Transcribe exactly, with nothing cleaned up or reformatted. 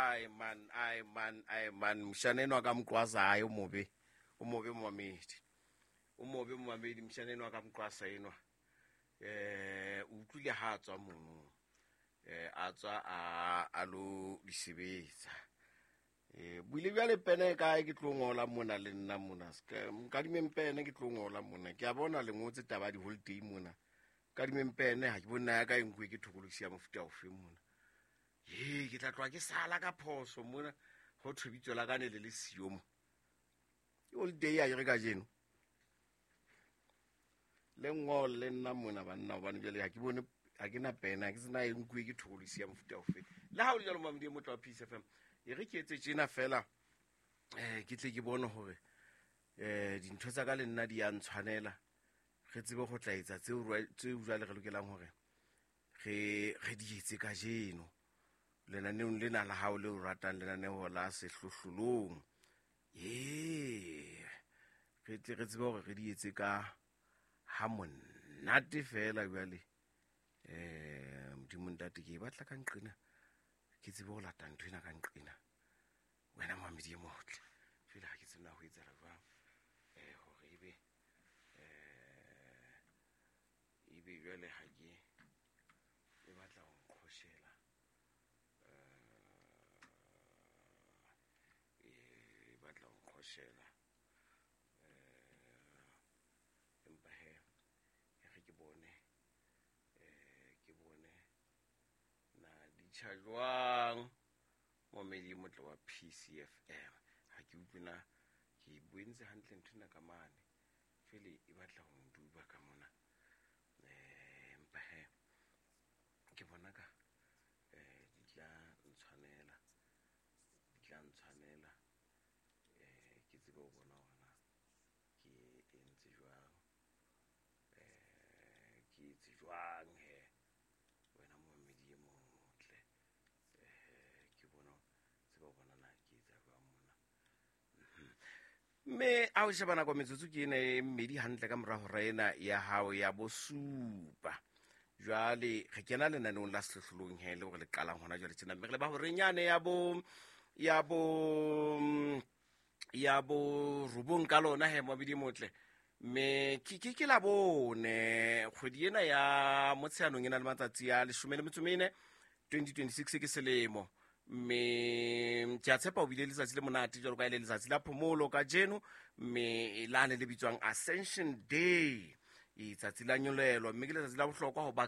Ai man, ai man, ai man, moshana enwa ka moqwasa hae o mobe, o mobe momamedi, o mobe momamedi, moshana enwa ka moqwasa enwa. Eh, o utlwile ha a tswa mono, eh, a tswa a, a lo di sebetsa. Eh, buile bjale pene e kae ke tlo ngola mona le nna mona, ska, nkadimeng pene ke tlo ngola mona. Ke a bona le ngotse taba ya di-holiday mona. Nkadimeng pene, ha ke bone na ya ka e nkuwe ke thokolosi ya mofuta ofe mona. He, ke tla tloha ke sala ka phoso mona, ho thwe bitso la ka ne le le siyo mo. Ke holiday a ke re kajeno. Le ngole le nna mona banna, hobane jwale ha ke bone, ha ke na pene, ha ke tsena e nkuwe ke thokolosi ya mofuta ofe. Le ha ho le jwalo, Mamedi e motle wa Peace F M, e re ke etse tjena fela, eh, ke tle ke bone hore, eh, dintho tsa ka le nna di ya ntshwanela. Re tsebe ho tla etsa tseo rwa-, tseo jwale re lokelang hore re, re di etse kajeno. Lenaneong lena la hao le o ratang, lenaneo la sehlohlolong. Ee, re tle re tsebe hore re di etse ka ha monate fela jwale. Eh, Modimo ntate, ke e batla ka nqena, ke tsebe ho lata ntho ena ka nqena. Wena Mamedi e motle, jwale ha ke tsebe na ho etsahala jwang, eh, hore ebe, eh, ebe jwale ha ke e batla ho nqhoshela, eh, e batla ho nqhoshela, eh, empa he, e re ke bone, eh, ke bone na di tjha jwang. Momedi e motle wa P C F M, ha ke utlwe na ke e boentse hantle ntho ena ka mane, jwale e batla ho nduba ka mona. Eh, empa he, ke bona ka, eh, di tla ntshwanela, di tla ntshwanela, eh, ke tsebe ho bona hore na ke entse jwang, eh, ke etse jwang he, wena momedi e motle. Eh, ke bona, tsebe ho bona na ke etsa jwang mona. Mhm. Mme a o sheba nako metsotso ke ena e mmedi hantle ka mora hora ena ya hao ya bosupa. Jwale re kena lenaneong la sehlohlolong he, le hore le qalang hona jwale tjena. Mme re leba horeng yane ya bo, ya bo, ya bo robong ka lona he, Moabedi e motle. Mme ke, ke, ke la bone kgwedi ena ya Motsheanong e na le matsatsi a leshome le metso e mene, twenty twenty-six ke selemo. Mme ke a tshepa o bile letsatsi le monate jwalo ka e le letsatsi la phomolo kajeno, mme lane le bitswang Ascension Day, letsatsi la nyolelo, mme ke letsatsi la bohlokwa ho ba